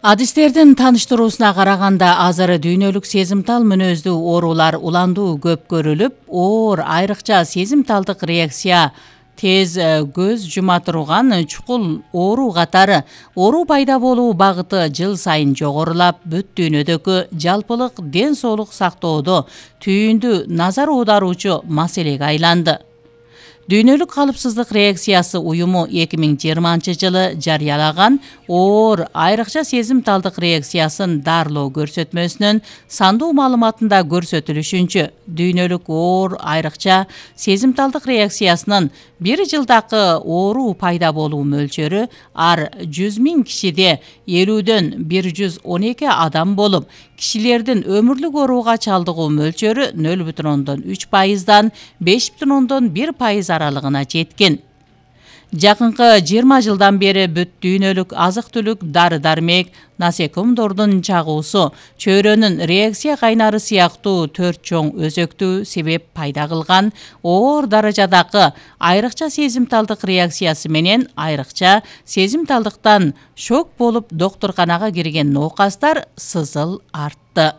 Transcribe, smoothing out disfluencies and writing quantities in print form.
Адистердин тааныштыруусуна караганда азыр дүйнөлүк сезимтал мүнөздүү оорулар уландуу көп көрүлүп, оор айрыкча сезимталдык реакция, тез көз жума турган чукул оору катары оору пайда болуу багыты жыл сайын жогорулап, бүт дүйнөдөгү жалпылык ден соолук сактоодо түйүндү назар аударуучу маселеге айланды. Дүйнөлүк калыпсыздык реакциясы уюму 2020-жылы жарыялаган оор айрыкча сезимталдык реакциясын дарылоо көрсөтмөсүнүн сандуу маалыматында көрсөтүлүшүнчө, дүйнөлүк оор айрыкча сезимталдык реакциясынын бир жылдакы оору пайда болуу мөлчөрү ар 100 000 кишиде 50дөн 112 адам болуп, кишилердин өмүрлүк ооруга чалдыгуу мөлчөрү 0,3%дан 5,1% аралыгына жеткен. Жакынкы 20 жылдан бери бүт дүйнөлүк азык-түлүк, дары-дармек, насекомдордун чагуусу, чөйрөнүн реакция кайнары сыяктуу 4 чоң өзөктүү себеп пайда кылган оор даражадагы айрыкча сезимталдык реакциясы менен айрыкча сезимталдыктан шок болуп доктурканага кирген ноокастар сызыл артты.